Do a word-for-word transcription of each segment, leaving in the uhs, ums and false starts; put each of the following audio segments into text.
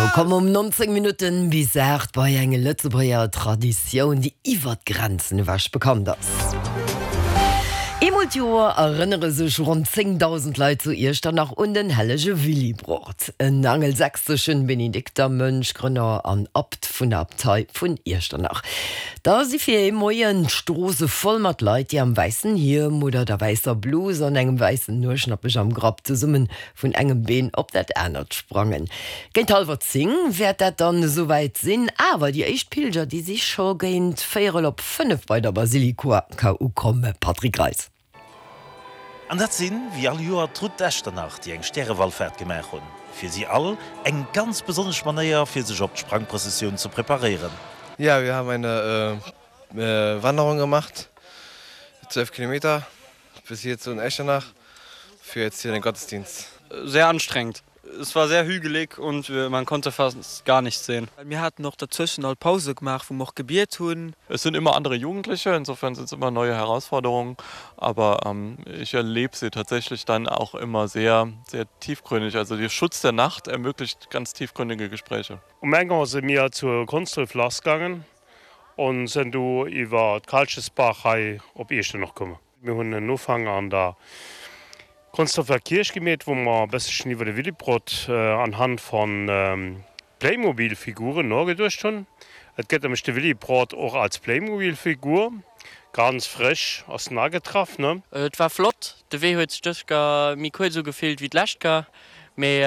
Sou, komm um nonzéng Minutten bis aacht bei eng Lëtzebuerger Traditioun, déi iwwer d'Grenzen ewech bekannt ass. Eemol d'Joer erënnere sech ronn zéngdausend Leit zu Iechternach un den hellege Willibrord, en angelsächseschen Benediktermönch, Grënner an Abt vun der Abtei vun Iechternach. Da si fir ee Moien d'Stroosse voll mat Leit, déi am wäissen Hiem oder der wäisser Blus an engem wäissen Nueschnappech am Grapp zesumme vun engem Been op dat anert sprangen. Géint hallwer zéng wäert dat dann esouwäit sinn, awer déi éischt Pilger, déi si scho géint véierel op fënnef bei der Basilika ukomm. Patrick Greis. An dat sinn, wéi all Joer, d'Route d'Echternach, déi eng Stärewallfaart gemaach hunn. Fir si all eng ganz besonnesch Manéier, fir sech op d'Sprangprëssessioun ze preparéieren. Ja, wir haben eine Wanderung gemacht, zwölf Kilometer bis hier zu Echternach für jetzt hier den Gottesdienst. Sehr anstrengend. Es war sehr hügelig und man konnte fast gar nichts sehen. Mir haten och derzwëschen all Pause gemaach, wou mer och gebiet hunn. Es sind immer andere Jugendliche, insofern sind es immer neue Herausforderungen, aber ähm, ich erlebe sie tatsächlich dann auch immer sehr, sehr tiefgründig. Also der Schutz der Nacht ermöglicht ganz tiefgründige Gespräche. Um eng Auer si mir zu Konsdref lassgaangen an sinn du iwwer d'Kalchesbaach hei op Iechternach komm. Mir hunn en Ufank an der Konsdrefer Kierch gemeet, wou mer e bësselchen iwwer de Willibrord anhand von Playmobil-Figuren nogeduecht hunn. Et gëtt nämlech de Willibrord och als Playmobil-Figur. Ganz frësch ass en agetraff, ne? Et war flott, de Wee huet sech dës Ker méi kuerz ugefillt wéi d'lescht Ker, mee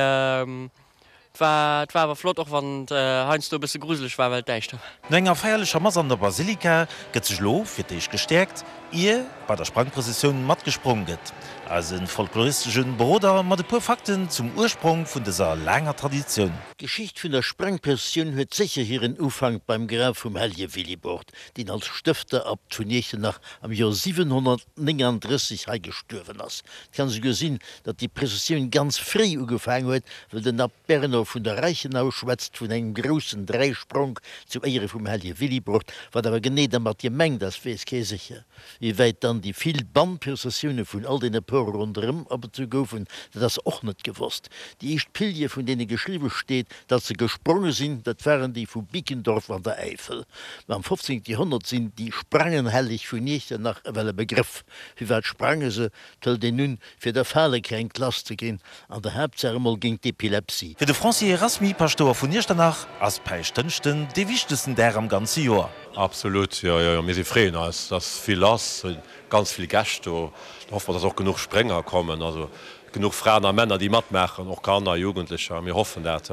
Et war et war awer flott, och wann et heiansdo e bësse gruseleg war, well et däischter war. No enger feierlecher Mass an der Basilika gëtt sech elo fir d'éischt gestäerkt, ier bei der Sprangprëssessioun matgesprong gëtt. Eise folkloristesche Beroder mat e puer Fakten zum Ursprong vun dëser laanger Traditioun. D'Geschicht vun der Sprangprëssessioun huet sécher hiren Ufank beim Graf vum Hellege Willibrord, deen als Stëfterabt vun Iechternach am Joer siwenhonnertnénganddrësseg hei gestuerwen ass. Et kann esouguer sinn, datt déi Prëssessioun ganz fréi ugefaang huet, well den Abt Berno vun der Reichenau schwätzt vun engem groussen Dräispronk zu Éiere vum hellege Willibrord. Wat awer genee dermat gemengt ass, weess kee sécher. Wéi wäit dann déi vill Bannprëssessioune vun all deene Pore ronderëm abezu goufen, dat ass och net gewosst. Déi éischt Pilger, vun deene geschriwwe steet, datt se gespronge sinn, dat waren déi vu Bickendorf an der Äifel. Ma am fofzéngte Joerhonnert sinn déi Sprangenhelleg vun Iechternach ewell e Begrëff. Firwat sprange se? 't hëlt een un, fir der Falekränkt lass ze ginn, an der Haaptsaach emol géint d'Epilepsie. Fir de Franci Erasmy, Paschtouer vun Iechternach, ass Päischtdënschden dee wichtegsten Dag am ganze Joer. Absolut, jo, jo, jo. Mir si freeën eis, et ass vill lass, ganz vill Gäscht do. Da hoffe mer, dass och genuch Sprénger kommen, also genuch Fraen a Männer, déi matmaachen, och Kanner, Jugendlecher. Mir hoffen dat.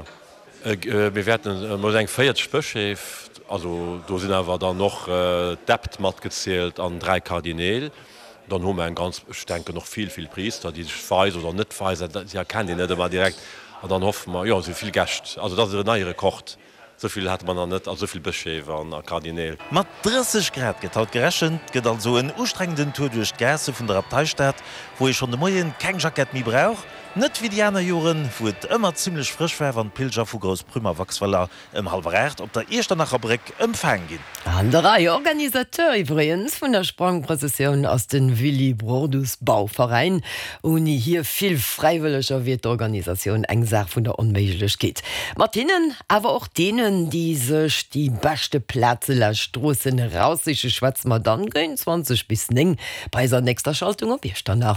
Mir wäerten emol eng véierzeg Bëscheef, also do sinn awer dann och d'Äbt matgezielt an dräi Kardineel. Dann hu mer eng ganz, ech denken och vill, vill Priister, déi sech weisen oder net weisen, si erkennt een net ëmmer direkt. An dann hoffe mer, jo, et si vill Gäscht. Also dat ass en neie Rekord, esou vill hate mer nach net, also esou vill Bëscheef an a Kardineel. Mat drësseg Grad gëtt haut gerechent. Et gëtt also en ustrengenden Tour duerch d'Gaasse vun der Abteistad, wou ee schonn de Moien keng Jackett méi brauch. Net wéi déi aner Joren, wou et ëmmer zimmlech frësch war, wann d'Pilger vu Groussprüm a Waxweiler ëm hallwer aacht op der Iechternacher Bréck ëmfaang ginn. An der Rei. Organisateur iwwregens vun der Sprangprëssessioun ass de Willibrordus Bauveräin. Ouni hir vill Fräiwëlleger wier d'Organisatioun eng Saach vun der Onméiglechkeet. Mat hinnen, awer och deenen, déi sech déi beschte Plaze laanscht d'Stroossen eraussiche schwätze mer dann géint zwanzeg bis néng bei eiser nächster Schaltung op Iechternach.